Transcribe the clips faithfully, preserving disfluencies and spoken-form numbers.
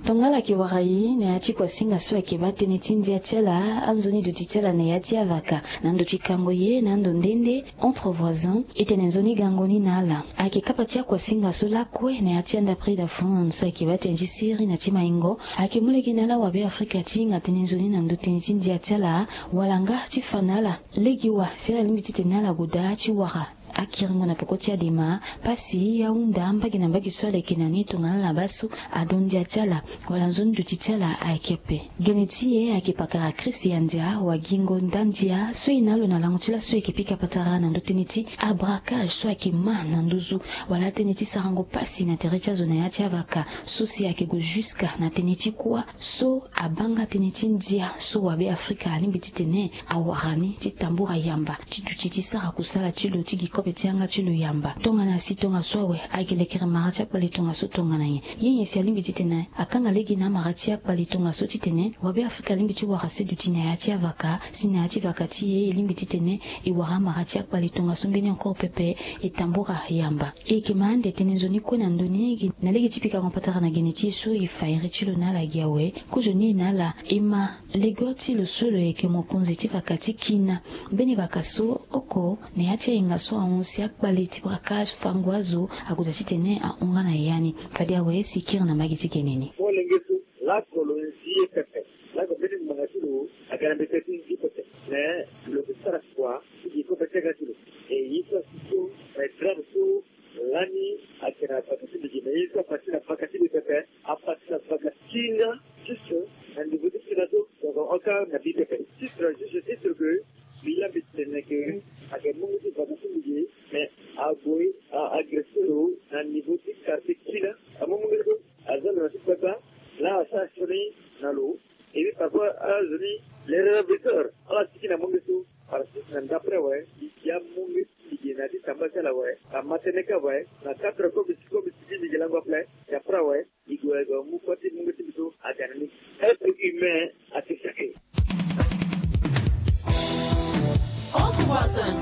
Tongana ala yeke wara e na ya ti kuasinga so ayeke baa tënë ti ndia ti ala, anzoni duti ti ala na ya ti avaka, na ndo ti kango ye na ando nde nde entre voisins, e tene nzoni gango ni na ala. Ayeke kapa ti akuasinga so lakue na ya ti anda prix d'afon so ayeke baa tënë ti siri na ti maingo, ayeke mu lege na ala wabe afrika ti hinga tënë nzoni na ndo tënë ti ndia ti ala, wala nga ti fa na ala lege wa si ala lingbi titene ala goda ti wara akiringo na peko ti adema, pasi ahunda mbage na mbage so ala yeke na ni tongana ala baa so ado ndia ti ala wala nzoni duti ti ala ayeke ape. Gene ti e ayeke pakara Christian Ndia, wagingo nda ndia so e na lo na lango ti laso e yeke pika patara na ndo tënë ti abracage so ayeke ma na nduzu, wala tënë ti sarango pasi na tere ti azo na ya ti avaka so si ayeke gue jusque na tënë ti kuâ so abaa nga tënë ti ndia so wabe afrika alingbi titene awara ni ti tambura yamba ti duti ti sara kusala ti lo ti gi kobe ti yanga ti lo yamba. Tongana si tongaso awe, ayeke lekere mara ti akpale tongaso tongana nyen? Ye nyen si alingbi titene akanga lege na amara ti akpale tongaso titene wabe afrika alingbi ti wara se duti na ya ti avaka, si na ya ti vaka ti e e lingbi titene e wara amara ti akpale tongaso mbeni encore pepe e tambura yamba. E yeke ma ande tënë nzoni kue na ndo ni gi na lege ti pikango patara na gene ti e so e fa iri ti lo na ala gi awe. Kozoni e na ala e ma lego ti lo so lo yeke mokonzi ti vaka ti kina. Mbeni vaka so oko na ya ti ahinga so ahon si akpale ti braka fango azo ague daa titene ahon nga na ya ni. Fade awe si kiri na mbage ti gene ni. Molenge so, lako lo nzi ye pepe. Lako mbeni ngbanga ti lo aga na mbeta ti nzi pepe. Me lo ke sara kua ti gi kobe ti aga ti lo. E ye so asi so, me drape so lani ayeke na vaka ti mbi gi, me ye so apati na vaka ti mbi pepe, apati na vaka ti nga, juste na niveau ti kina so, donc oko na bi pepe. Titre, juste titre que mbi laa mbi tene que ayeke mungo ti vaka ti mbi gi, mais ague a agressé lo na niveau ti quartier kina. Amu mungo so aza lo na ti gbagba. Laa asara sioni na lo. Et puis parfois azo ni, les révélateurs, ala tiki na mungo so. Parce que na ndapre awe, mbi gi amungo ti mbi gi na ya ti tamba ti ala awe, na matene kâ awe, na quatre heures comme mbi tiki, comme mbi tiki mbi gi lango ape. Ndapre awe, mbi gue gue mu kua ti mungo ti mbi so aga na ni. Être humain ayeke sacré. Entre voisins.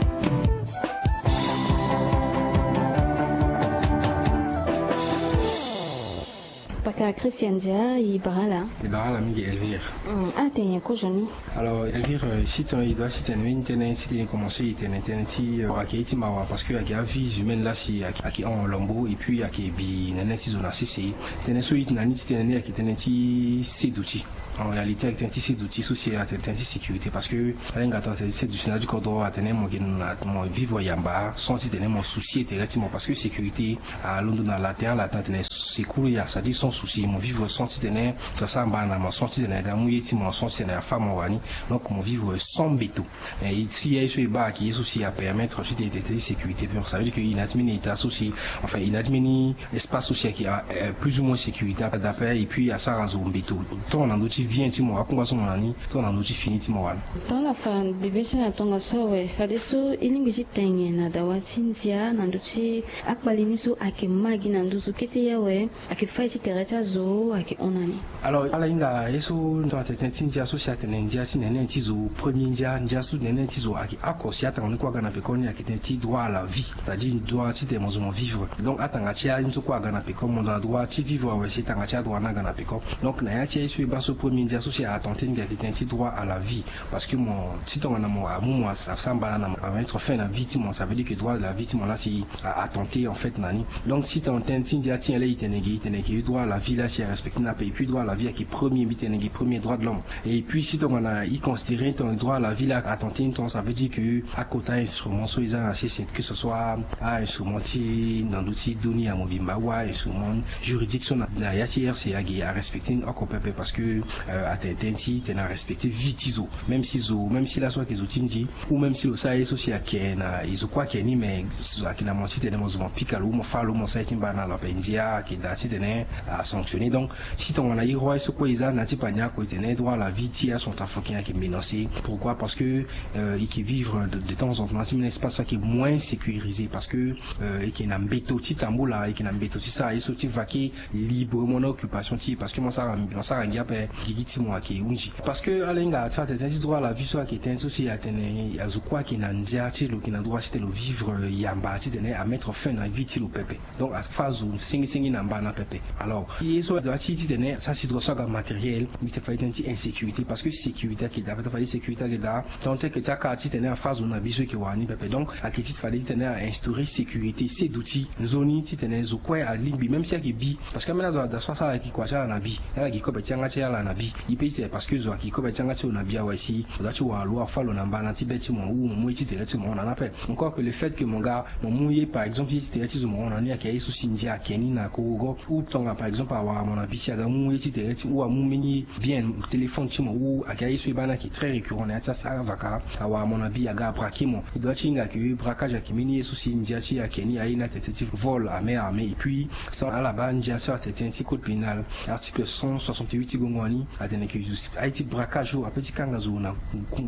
Paka Christian Ndia, e bara ala. E bara ala mingi Elvire. Hmm, atene kozoni. Alors Elvire, euh, si tene e doit si tene mbeni tënë, si tene e commencé e tene tënë ti, euh, ayeke ye ti mawa parce que ayeke avies humaines laa si ayeke, ayeke hon lambo et puis ayeke bi na ni ti zo na sese. Tënë so e na ni ti tene ni ayeke tënë ti seduti. En réalité ayeke tënë ti seduti so si atene tënë ti sécurité parce que alenga atene tënë ti seduti na ya ti kodro atene mo yeke na mo vivre yamba sans ti tene mo souci tere ti mo parce que sécurité alondo na latin, latin atene securus, c'est-à-dire sans souci, mo vivre sans ti tene to asara mbana na mo, sans ti tene aga amu ye ti mo, sans ti tene afa mo wani. Donc mo vivre sans mbeto. Mais si ye so e baa ayeke ye so si apermettre ti tene tënë ti sécurité, ça veut dire que e na ya ti mbeni état so si, enfin e na ya ti mbeni espace so si ayeke, euh, plus ou moins sécurité d'après, et puis asara zo mbeto tant na ndö ti bien ti mo, akungba so mo na ni, tant na ndö ti fini ti mo wala. Tongana afa bibe ti ala tongaso awe, fadeso e lingbi ti tene na dawa ti ndia na ndö ti akpale ni so ayeke ma gi na nduzu kete ye awe, ayeke fâ ye ti tere ti azo, ayeke hon na ni. Alors ala hinga ye so tongana tene tënë ti ndia so si atene ndia ti nene ti zo, premier ndia, ndia so nene ti zo ayeke oko si atanga ni kue aga na peko ni ayeke tënë ti droit à la vie, c'est-à-dire droit ti tene mo zo mo vivre. Donc atanga ti aye ni so kue aga na peko, mo na droit ti vivre awe si tanga ti adroit ni aga na peko. Donc na ya ti aye so e baa so premier ndia so si a attenter ni gi ayeke tënë ti droit à la vie. Parce que mo, si tongana mo amu mo asara mbana na mo, amettre fin na vie ti mo, ça veut dire que droit de la vie ti mo laa si a attenter en fait na ni. Donc si tongana tënë ti ndia ti nyen laa e tene gi, e tene gi droit à la vie laa si a respecter ni ape, et puis droit à la vie ayeke premier, mbi tene gi premier droit de l'homme. Et puis si tongana e considérer tongana droit à la vie laa a attenter ni tongana, ça veut dire que akota instrument so e za na sese, que ce soit ainstrument ti na ndö ti dunia mobimba ou ainstrument juridique so na ya ti R C A gi a respecter ni oko pepe parce que, euh, atene tënë ti tene a respecter vie ti zo. Même si zo, même si laso ayeke zo ti ndi, ou même si lo sara ye so si ayeke na e zo kue ayeke ni, mais zo ayeke na mo ti tene mo zo mo pika lo ou mo fâ lo ou mo sara ye ti mbana na lo ape, ndia ayeke daa ti tene a sanctionner. Donc si tongana e roi ye so kue e za na ya ti pania oko e tene droit à la vie ti acentrafricain ayeke menacé. Pourquoi? Parce que, euh, e yeke vivre de, de temps en temps na ya ti mbeni espace so ayeke moins sécurisé parce que, euh, e yeke na mbeto ti tambula, e yeke na mbeto ti sara ye so ti vaquer librement na occupation ti e parce que mo sara, mo sara ngia ape gigi ti mo ayeke hunzi. Parce que ala hinga ti atene tënë ti droit à la vie so ayeke tënë so si atene azo kue ayeke na ndia ti lo yeke na droit ti tene lo vivre yamba ti tene amettre fin na vie ti lo pepe. Donc afa zo sengisengis na Ana pepe. Alors ye so adoit ti titene sa situation aga matériel, mbi te fade tënë ti insécurité, parce que sécurité ayeke daa, fade sécurité ayeke daa. Tant que ti aka titene afa zo na bi so eke wara ni pepe. Donc ayeke ti fade titene a instaurer sécurité, seduti nzoni titene zo kue alingbi, même si ayeke bi, parce que ambeni azo ada so asara ayeke kua ti ala na bi, ala gi kobe ti yanga ti ala na bi. E pe titene parce que zo ayeke gi kobe ti yanga ti lo na bi awe si lo doit ti wara lo, afa lo na mbana ti be ti mo ou mo mu ye ti tere ti mo hon na ni ape. Encore que le fait que mo ga mo mu ye par exemple ye ti tere ti zo mo hon na ni ayeke ye so si ndia ayeke ni na korogo, ou tongana par exemple awara mo na bi si aga mu ye ti tere ti ou amu mbeni bien téléphone ti mo ou aga ye so e baa ni ayeke très récurrent na ya ti asara avaka, awara mo na bi aga abraquer mo. E doit ti hinga que braquage ayeke mbeni ye so si ndia ti e ayeke ni aye ni atene tënë ti vol à main armée. Et puis sans ala baa ndia so atene tënë ti code pénal, article cent soixante-huit ti gongo ni atene que aye ti braquage so ape ti kanga zo na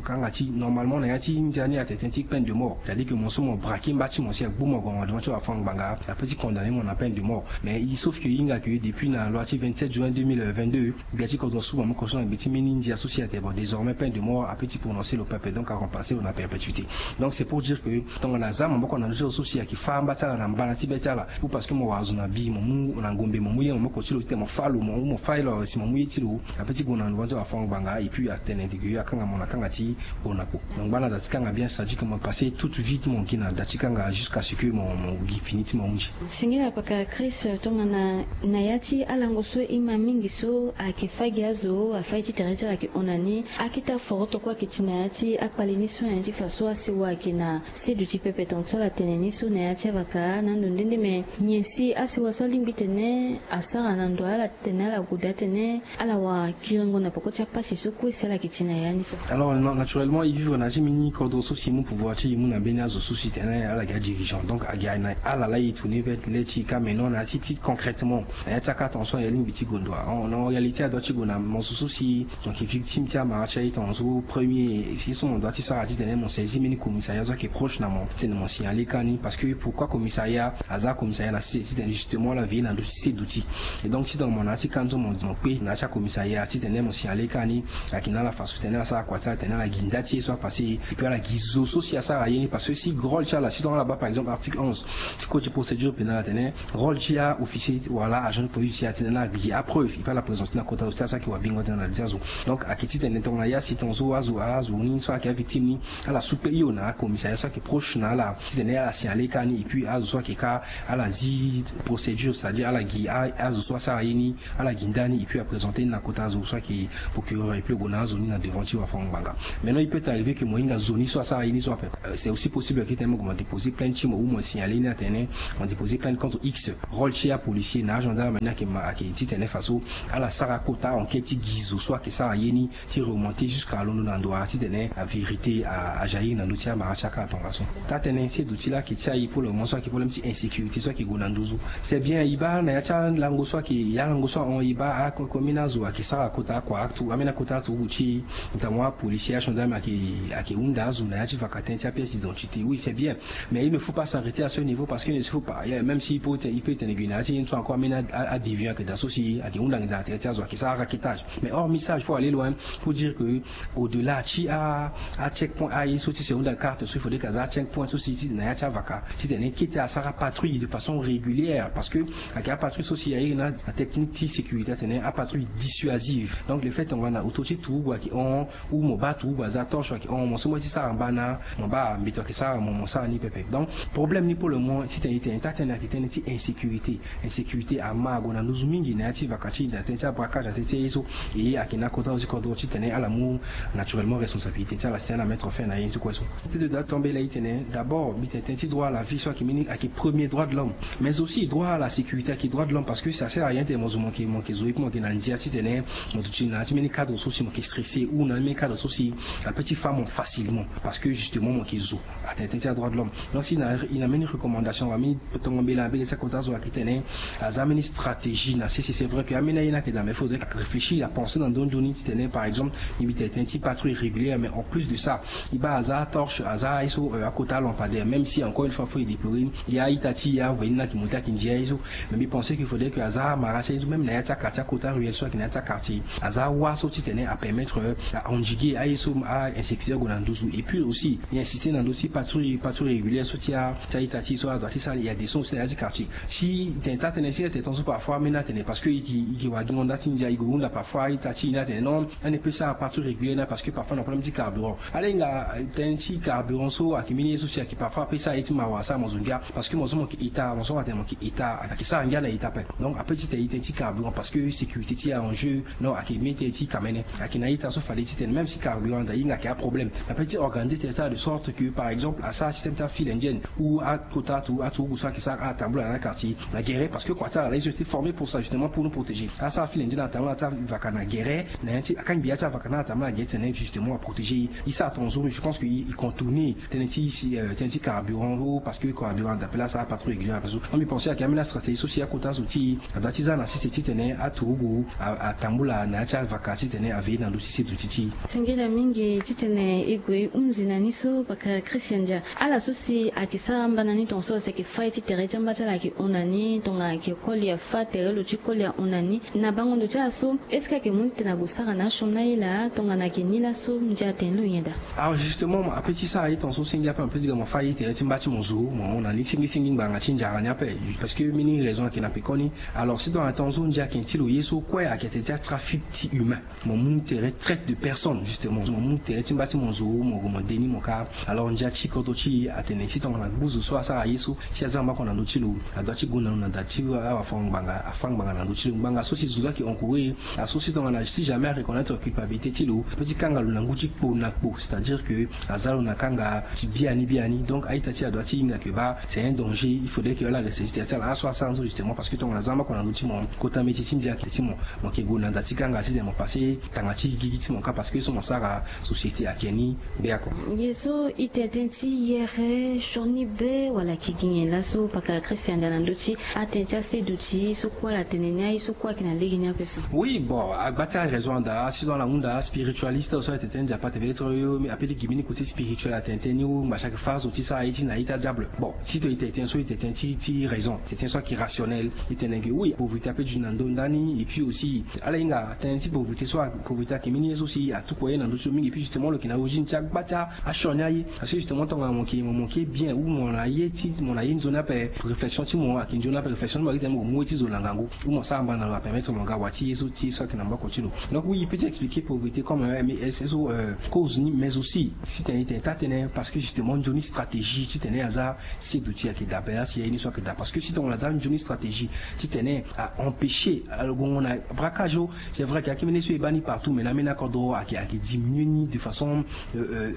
kanga ti normalement na ya ti ndia ni atene tënë ti peine de mort, c'est-à-dire que mo so mo braquer mba ti mo si agbu mo ague na devant ti wafango-ngbanga, ape ti condamner mo na peine de mort. Mais il sauf que e hinga que depuis na loi ti vingt-sept juin deux mille vingt-deux, gbia ti kodro so mo moko so na gbe ti mbeni ndia so si atene bon désormais peine de mort ape ti prononcer lo pepe, donc aremplacer lo na perpétuité. Donc c'est pour dire que tongana aza maboko na ndö ti lo so si ayeke fâ mba ti ala na mbana ti be ti ala, ou parce que mo wara zo na bi, mo mu na ngombe, mo mu ye maboko ti lo titene mo fâ lo, mo mu mo fâ ye lo si mo mu ye ti lo, ape ti gue na devant ti wafango-ngbanga et puis atene que akanga mo na kanga ti gue na kpo. Donc ngba na da ti kanga bien, c'est-à-dire que mo passer toute vie ti mo gi na da ti kanga jusqu'à ce que mo mo gi fini ti mo ahunzi. Singila pakara Chris, tongana na ya ti alango so e ma mingi so ayeke fâ gi azo, afâ ye ti tere ti ala ayeke hon na ni, akita foroto kue ayeke ti na ya ti akpale ni so na ya ti fa so asewa ayeke na seduti pepe tonga so ala tene ni so na ya ti avaka na ando nde nde, me nyen si asewa so alingbi tene asara na ndo ala titene ala gue daa titene ala wara kiringo na peko ti apasi so kue si ala yeke ti na ya ni so? Alors na- naturellement e vivre na ya ti mbeni kodro so si e mu pouvoir ti e mu na mbeni azo so si tene ala gi adirigeant, donc agi na ala laa e tourner vers le ti e ka. Mais non na ya ti ti concrètement na ya ti aka tonga so na e lingbi ti gue ndo. En réalité adoit ti gue na mo so so si mo yeke victime ti amara ti aye tonga so premier si so mo doit ti sara titene mo saisir mbeni commissariat so ayeke proche na mo titene mo signaler ka ni. Parce que pourquoi commissariat? Aza commissariat na se titene justement ala veiller na ndö ti seduti. Et donc titene mo na ya ti ka ni so mo mo kpe na ya ti acommissariat titene mo signaler ka ni. Ayeke na ala façon titene ala sara kua ti ala titene ala gi nda ti ye so apasser et puis ala gi zo so si asara ye ni. Parce que si rôle ti ala si tongana ala baa par exemple article onze ti code ti procédure pénale atene rôle ti a-officier wala agent de police si atene na gi apreuve e pe ala présenter na kota zo ti ala so ayeke wabingo atene na li ti azo. Donc ayeke titene tongana ya si tonga so azo azo ni so ayeke avictime ni ala soupe hio na acommissariat so ayeke proche na ala titene ala signaler ka ni. Et puis azo so ayeke ka ala zi procédure, c'est-à-dire ala gi a- azo so asara ye ni ala gi ndani et puis aprésenter ni na kota azo so ayeke procureur et puis lo gue na azo ni na devant ti wafango-ngbanga. Maintenant il peut arriver que mo hinga zo ni so asara ye ni so ape. Euh, c'est aussi possible que tene mo gue mo déposer plainte ti mo ou mo signaler ni atene mo déposer plainte contre x. Rôle ti apolicier na agendarme ni ayeke ma ayeke titene faso ala sara kota enquête ti gi zo so ayeke sara ye ni ti remonter jusqu'à londo na ndo wala titene avérité a- ajaillir na ndö ti amara ti aka tongaso. Taa-tënë seduti laa ayeke ti aye pour le moment so ayeke problème ti insécurité so ayeke gue na nduzu. C'est bien e baa na ya ti alango so ayeke ya lango so ahon e baa ako- kombeni azo ayeke sara kota akua atu ambeni akota aturugu ti e. Notamment apolicier agendarme ayeke ayeke hunda azo na ya ti vaka tënë ti apièce d'identité. Oui c'est bien. Mais il ne faut pas s'arrêter à ce niveau parce que il ne faut pas même si e peut tene e peut tene gue na ya ti ye ni so encore ambeni a- a- adéviant ayeke daa so si ayeke hunda nginza na tere ti azo ayeke sara raquetage. Mais or message faut aller loin pour dire que au-delà ti a- acheck point aye so ti se hunda carte so il faudrait que aza acheck point so si ti na ya ti avaka titene kete asara patrouille de façon régulière parce que ayeke apatrouille so si airi na na technique ti sécurité atene apatrouille dissuasive. Donc le fait tongana auto ti turugu ayeke hon ou mo baa turugu aza torche ayeke hon mo so mo ye ti sara mbana mo baa mbeto ayeke sara mo mo sara ni pepe. Donc problème ni pour le moment titene e tene taa-tënë ayeke tënë ti insécurité. Insécurité ama ague na nduzu mingi na ya ti vaka ti e na tënë ti abraquage na tënë ti aye so. E ayeke na kota so ti kodro titene ala mu naturellement responsabilité ti ala si tene ala mettre fin na ye ni ti kue so. Ti de daa tombela e tene d'abord mbi tene tënë ti droit à la vie so ayeke mbeni ayeke premier droit de l'homme. Mais aussi droit à la sécurité ayeke droit de l'homme parce que ça sert à rien tene mo zo mo yeke mo yeke zo ye pe mo yeke na ndia titene mo duti na ya ti mbeni cadre so si mo yeke stressé ou na mbeni cadre so si ape ti fa mo facilement parce que justement mo yeke zo. Atene tënë ti adroit de l'homme. Donc si na e na mbeni recommandation wala mbeni tongo mbela na mbela ti akota zo ayeke tene aza mbeni stratégie na sese. C'est vrai que ambeni aye ni ayeke daa mais faudrait réfléchir apensé na ndö nzoni titene par exemple mbi tene tënë ti patrouille régulière mais en plus de ça e baa aza torche aza ye so akota lampadaire même si encore une fois faut e déplorer ni ya a-ita ti e aveni ni ayeke monté ayeke ndia ye so. Mais mbi pensé qu'il faudrait que aza amara ti aye so même na ya ti akartier akota ruelle so ayeke na ya ti akartier aza wâ so titene apermettre a-endiguer aye so a-insécurité ague na nduzu. Et puis aussi e insister na ndö ti patrouille patrouille régulière so ti a ti a-ita ti e so adoit ti sara e ya des sons aussi na ya ti quartier si e tene Atene si ete ton so parfois ameni atene parce que i ke i ke wa gingo nda ti ndia i gue hunda parfois ita ti i ni atene non, ane pe sara partout régulier na parce que parfois na problème ti carburant. Ala hinga tene ti carburant so ake mini ye so si ake parfois ape sara ye ti mawa asara mo zo ngia parce que mo so mo ke ita mo so atene mo ke ita ake sara ngia na ita pe. Donc ape ti tene i tene ti carburant parce que sécurité ti a en jeu. Non ake mini tene ti kamene ake na ita so fade ti tene même si carburant anda hinga ake aproblème. Ape ti organiser tene sara de sorte que par exemple asara système ti afile indienne ou akota atu aturugu so ake sara atambula na quartier na guerre parce que kua ti ala la ils ont été formés pour ça justement pour nous protéger. Asara afile indienne atambula ti avaka na guerre na ya ti akangbi ya ti avaka na atambula na guerre ti tene justement aprotéger. I sara ton zo je pense que i contourner tene ti isi tene ti carburant o parce que carburant d'appel asara patron régulier ape so. Moi mi pense ake ameni astratégie so si akota zo ti i adua ti za na sese ti tene aturugu atambula na ya ti avaka ti tene aveye na ndö ti seduti ti i. Singila mingi ti tene i gue i hunzi na ni so paka Christian Dia. Ala so si ake sara amba na ni ton so si ake fâ ye ti tere ti amba ti ala ake hon na ni tongana ake koli afâ tere lo ti koli ahon na ni. Na bango ndo ti ala so est-ce que ake mu ti tene ague sara na asioni na ye laa tongana ake ni laso ndia atene lo nyen daa? Alors justement ape ti sara ye ton so senge ape mo pe ti ga mo fâ ye tere ti mba ti mo zo mo hon na ni sengesengi ngbanga ti ndia ni ape. Parce que mini raison ake na pekoni. Alors si tongana ton so ndia ake ti lo ye so kue ake tene ti atrafic ti humain. Mo mu tere traite de personne justement mo mu tere ti mba ti mo zo mo gue mo de ni mo kâ. Alors ndia ti kodro ti e atene si tongana gbu zo so asara ye so si aza mbako na ndö ti lo adua ti gue na lo na da ti awafango ngbanga afâ ngbanga na ndö ti lo ngbanga so si zo so ake encouré. Aso si tongana si jamais areconnaitre culpabilité ti lo ape ti kanga lo na ngu ti kpo na kpo c'est-à-dire que aza lo na kanga ti biani biani donc a-ita ti e adua ti hinga ke baa c'est un danger il faudrait que ala reste ti tene ti ala aso asara nzo justement parce que tongana aza mbako na ndö ti mo kota mbeti ti ndia ake ti mo mo ke gue na da ti kanga ti tene mo pase tanga ti gigi ti mo kâ parce que so mo sara société ake ni. Be ako. Ye so i tene tënë ti yere sioni be wala ake gi nyen laso paka Christian Dia na ndö ti atënë ti aseduti so kue ala tene ni aye so kue ake na lege ni ape so. Oui bon agba ti araison anda si so ala hunda aspiritualiste so atene tënë Nzapa tene peut-être yo ape ti gi mbeni côté spirituel atene tënë ni ou ngba chaque fois so ti sara ye ti na ye ti adiable bon si tene i tene tënë so i tene tënë ti ti raison tene tënë so ake rationnel. I tene ke oui pauvreté ape duti na ndö ndani et puis aussi ala hinga tënë ti pauvreté so pauvreté ake mbeni ye so si atukua ye na ndö ti lo mingi et puis justement lo yeke na origine ti agba ti asioni aye. Parce que justement tongana mo yeke mo mo yeke bien ou mo na ye ti mo na ye nzoni ape réflexion ti mo ayeke nzoni ape réflexion ti mo ayeke ti tene mo gue mu ye ti zo na ngangu ou mo sara mba na lo apermettre mo ga wa ti ye so ti ye so ayeke na mbako ti lo. Donc oui i peut ti expliquer pauvreté comme ye so cause ni mais aussi si tene i tene taa tënë parce que justement nzoni stratégie ti tene aza seduti ayeke daa ape la si aye ni so ayeke daa parce que si tongana aza nzoni stratégie ti tene a empêcher alo gongo na braquage o. C'est vrai ke akimi ni so e baa ni partout mais na ambeni akodro ayeke ayeke diminuer ni de façon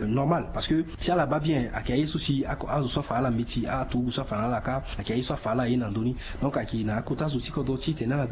normale parce que si ala baa bien ayeke aye so si azo so afa na ala mbeti aturugu so afa na ala kâ ayeke aye so afa na ala aye na ndö ni. Donc ayeke na akota zo ti kodro ti tene ala